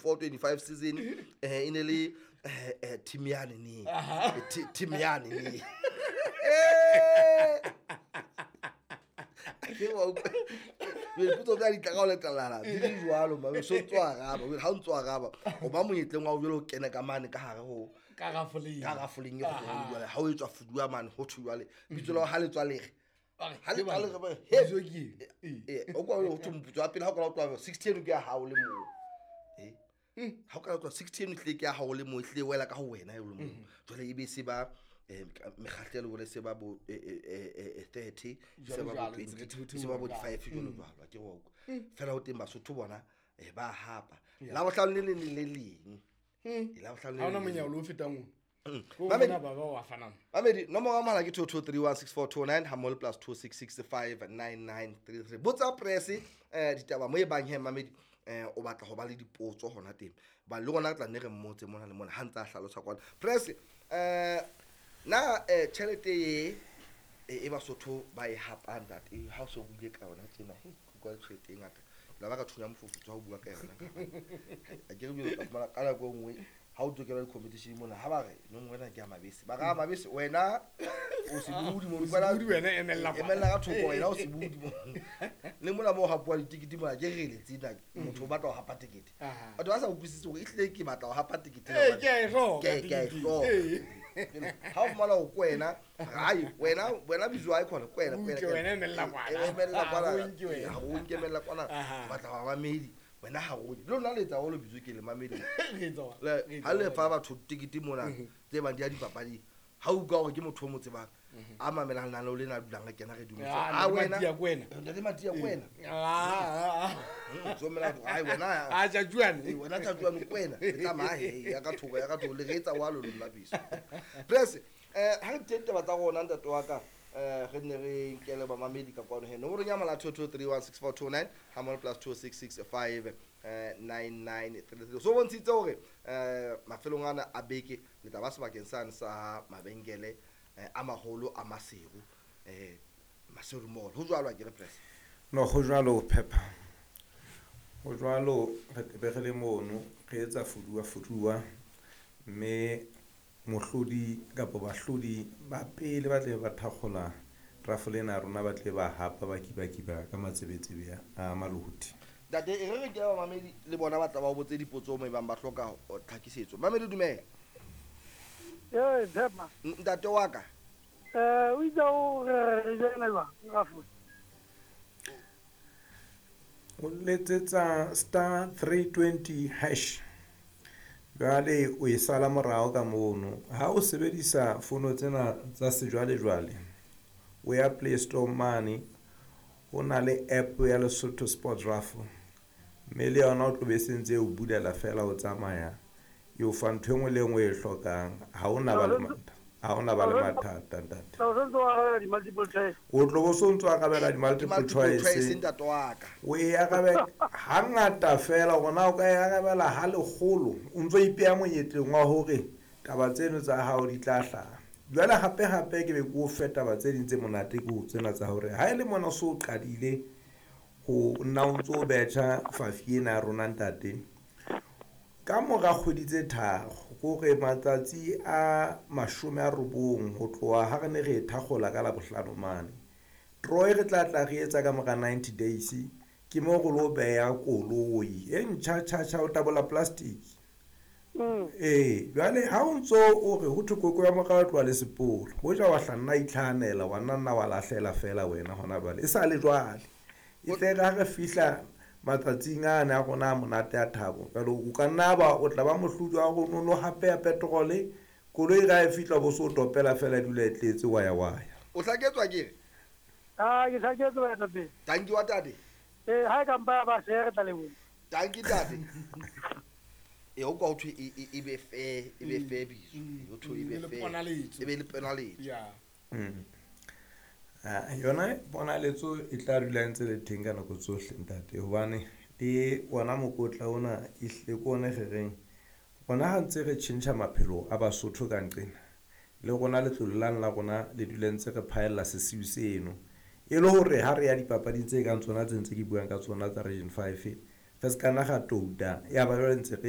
24 25 season e ne le team yane ne. Team yane ne. Ke wa utlwa. Dipotso tsa di tla ka o letalala di le jwalo mame so ntso araba ha o ntso araba o ba monyetleng wa o jwale o kene ka mane ka hare ho Ka rafoleng. Ka rafoleng e kgolo jwale ha o etswa fuduwa mane ho thwe jwale bitso la hao ha le tswa lere. Ha le tswa lere ba he. Bitso ke eng? O kwa ho thwe moputso wa pele ha o ka o tloha 60 eno ke ya hao le moo. Ha o ka tloha 60 eno ehlile ke ya hao le moo, ehlile e wela ka ho wena e le moo. Jwale e be se ba mekgahlelo jwale se ba bo 30, se ba bo Jwalo, jwalo, 20, se ba bo jwalo. 5 jwalo jwalo, ke wa utlwa. Fela ho teng Basotho bona ba hapa. Labohlano le leng le le leng. Labohlano le Ha hona leng le monyao leng. le o fetang ono. Ko Mamedi. bona ba ba wa fanang. Mamedi, nomoro ya mohala ke 22316429 ha mmoho le plus 26659933. Botsa press ditaba mo e bang he Mamedi o batla ho ba le dipotso hona teng. Ba le rona re tla nne re mmotse mona le mona ha ntse a hlalosa kwana. Press na tjhelete e Basotho ba e hapang ntate, ha o so buile ka yona tjena, he, ke utlwa tjhelete e ngata. La ba ka thunya mofufutso ha o bua ka yona. A ke re bile ka fumana ka nako e nngwe ha o tokela di-competition mona, ha ba re, no wena ke ya mabese. Ba re, ah, mabese, wena o sebudi mo, O sebudi wena, emella kwana. Emella ka thoko, wena o sebudi mo. Le mona moo ho hapuwa ditikete mona, ke re le tsena, motho o batla ho hapa tekete. Batho ba sa utlwisise hore ehlile ke batla ho hapa tekete. Ee, ke a e hloka Ke a e tekete. hloka. Ee. Ha o fumana hore ke wena, hai, wena bizo ha e khona, ke wena, ke wena, Butle ke wena. wena, emella kwana. Emella kwana. Ha o nke wena. Ha o nke, emella kwana. Batla ho ba mamedi. Wena ha o le lona le etsa haholo bizo ke le mamedi. Re etsa hore. Le, Re etsa ha le hore. fa batho tekete mona, tse bang di ya dipapading. Ha o utlwa hore ke motho o mo tsebang, a mamelang lenaneo lena a dulang a kena re dumetse. Ah, Ah, Ntate wena. Matia ke wena. Ntate Matia ke wena. Ah, ah, ah. So mela ho, ai, wena. Ah, Tjatjuane. Ee, wena Tjatjuane ke wena. Re tsamaya he, ya ka thoko, ya ka thoko, le re etsa wa lona biso. Press, ha re teng taba tsa rona ntate wa ka, re nne re nkele bamamedi ka kwano he. Nomoro ya mohala 22316429 ha mmoho le plus 2665 9933. So bontshitse hore mafelong ana a beke le tla ba sebakeng sane sa mabenkele a maholo a Maseru, Maseru Mall. Ho jwalo ha ke re Press? No, ho jwalo Pepper. Ho jwalo re tla be re le mono re etsa fuduwa fuduwa, mme mohlodi kapa bahlodi ba pele ba tle ba thakgola rafole ena ya rona, ba tle ba hapa ba kibakiba ka matsebetsebe a maluti. Ntate, e re re ke ba mamedi le bona ba tla ba o botse dipotso mo ebang ba hloka ho tlhakisetso. Mamedi, dumela. Ee, Pepper. Ntate wa ka. O itse o re re jena jwang, rafole? O letsetsa star 320 hash. Jwale o e sala morao ka mono. Ha o sebedisa fono tsena tsa sejwalejwale, o ya Play Store mane, ho na le app ya Lesotho Sports Raffle. Mme le yona o tlo be se ntse e o bulela fela o tsamaya, e o fa ntho e nngwe le e nngwe e hlokang. Ha o na ba le mathata. Ha o na ba le mathata, ntate. O sentse o arabela di-multiple choice. O tlo bo so ntse o arabela di-multiple Di-multiple choice. choice, ntate wa ka. O e arabe hangata fela, hore na o ka e arabela ha lekgolo, o ntso ipeha monyetleng wa hore taba tseno tsa hao di tla hlaha. Jwale hape hape ke be ke o fe taba tse ding tse monate ke ho tsena tsa hore ha e le mona o so qadile ho nna o ntso betjha fafi ena ya rona ntate. Ka mora kgwedi tse tharo, kore matsatsi a 90 ho tloha ha re ne re e thakgola ka Labohlano mane. Draw e re tla tla re etsa ka mora 90 days, ke mo re lo beha koloi e ntjha tjha tjha o tabola plastic. Ee, jwale ha o ntso o re ho thwe koko ya morao tloha le sepolo, hoja wa hla nna itlhahanela, wa nna nna wa lahlela fela wena hona jwale. E sa le jwale. E tle re ha re fihla matsatsing ana a rona a monate a thabo, jwale o ka nna ba o tla ba mohlodi wa rona, o no hape ya petrole, koloi ra e fihla bo so topela fela e dula e tletse wa ya wa ya. O hlaketswa ke re? Ah, ke hlaketswe baetapele. Tanki wa tate. Ee, ha e ka mpa ya ba share, re tla leboha. Tanki tate. E o kwa ho thwe e be fair, e be fair bizo. Ho thwe e be E be le fair. ponaletso. E be le ponaletso. Yeah. Ah, yona ponaletso e tla dula ntse le teng ka nako tsohle ntate, hobane le ona mokotla ona ehlile ke ona re reng rona ha ntse re tjhentjha maphelo a Basotho ka nqena, le rona letlole lane la rona le dula ntse re phaella sesiu seno, e le hore ha re ya dipapading tse kang tsona tse ntse ke buang ka tsona tsa Region 5, re se ka nna ra touta, ya ba jwale ntse re